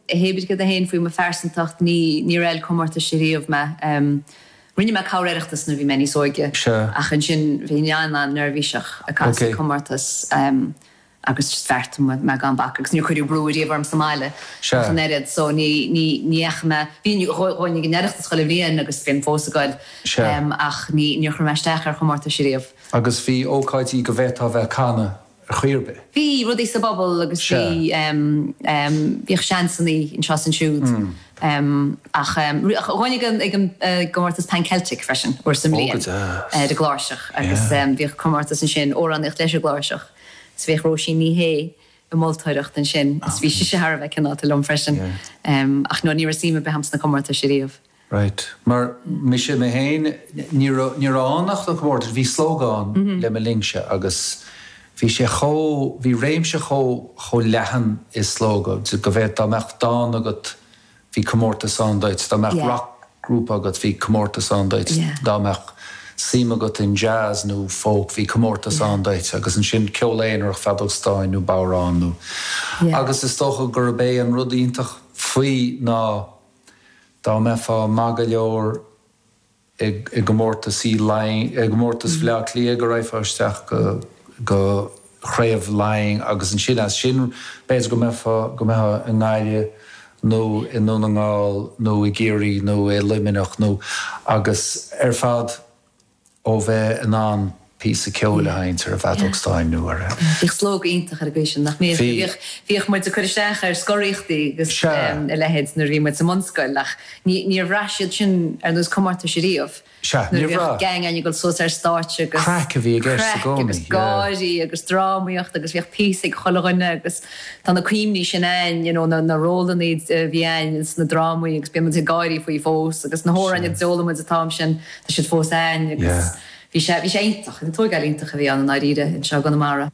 Hé brí céard é féin faoi mo phearsantacht, ní, níor fheil comórtais ariamh mé. Rinne mé corr Oireachtas nuair a bhí mé níos óige ach ansin bhínn an-an-neirbhíseach ag casadh comórtas agus just bheartaigh mé gan bac agus níor cuireadh brú ariamh orm sa mbaile ach an oiread so ní, ní, ní dheachaigh mé, bhínn, ghabhfainn ag an Oireachtas chuile bhliain agus bhínn fós ag goil ach ní, níor chuir mé isteach ar chomórtais ariamh. Agus bhí ócáidí go bhféadfá a bheith ag canadh ar chaoi ar bith. Bhí rudaí sa bpobal agus bhí, bhíodh seansannaí anseo is ansiúd. Ach ghabhfainn ag an, ag an gcomórtas Pan Celtic freisin, uair sa mbliain ar an gcláirseach agus bhíodh comórtas ansin, amhránaíocht leis an gcláirseach. Is bhíodh Róisín Ní Shé ag moltóireacht ansin is bhí sise thar a bheith cineálta liom freisin. Ach no, ní raibh suim ar bith agam sna comórtais ariamh. Right. Mar mise mé féin, ní raibh, ní raibh ann ach na comórtais, bhí Slógadh ann le mo linnse agus bhí sé chomh, bhí réimse chomh, chomh leathan i Slógadh go bhféadfá, dá mbeadh dán agat bhí comórtas ann duit, dá mbeadh roc-ghrúpa agat bhí comórtas ann duit, dá mbeadh suim agat in jazz nó folk bhí comórtas ann duit agus ansin ceol aonarach, feadóg stáin nó bodhrán nó, agus is dócha gurb é an rud iontach faoi ná, Dá mbeifeá maith go leor i gcomórtas i gcomórtas Bhaile Átha Cliath go raghfá isteach go go Craobh Laighean agus ansin as sin b'fhéidir go mbeifeá go mbeifeá i nGaillimh nó i nDún na nGall nó i gCiarraí nó i Luimneach nó agus ar fad ó bheith in ann píosa ceoil a sheinnt ar an bhfeadóg stáin nó ar a. Bhíodh Slógadh iontach ar an gcaoi sin, nach mbíodh? Bhí. Bhíodh, bhíodh muid ag cur isteach ar scoraíochtaí agus a leithéid nuair a bhí muid sa mbunscoil ach ní, níor bhraith siad sin ar nós comórtais ariamh. Sea, Nuair a níor bhíodh bhraith. gang againn ag dul suas ar stáitse agus. Craic a bhí i gceist i Craic gcónaí, agus yeah. gáirí agus drámaíocht agus bhíodh píosa ag chuile dhuine agus tá na cuimhní sin a'inn, you know, na, na rólanna a bhí a'inn sna drámaí agus bíonn muid ag gáirí faoi fós agus na hamhráin a d'fhoghlaim muid an t-am sin. Tá siad fós a'inn agus bhí sé, bhí sé iontach, tógáil iontach a bhí ann i ndáiríre anseo i gConamara.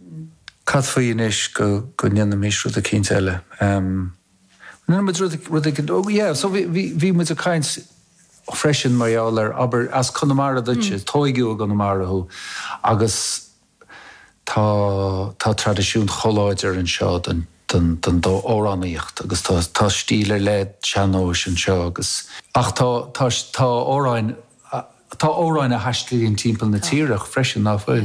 Cad faoi anois go, go ndéanfaimis rud eicínt eile? Em, ndéanfaidh muid rud, rud eicínt, oh yeah, so bhí, bhí, bhí muid ag caint freisin mar gheall ar, abair, as Conamara duitse, tóigeadh i gConamara thú agus Tá tá traidisiún chomh láidir anseo den den den amhránaíocht agus tá tá stíl ar leith sean-nóis anseo agus ach tá tá tá amhráin tá amhráin a thaistlíonn timpeall na tíre freisin, ná fuil?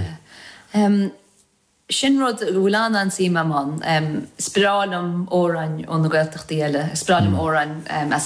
Sin rud a bhfuil an-an-suim agam ann. Is breá liom amhráin ó na Gaeltachtaí eile, is breá liom amhráin as.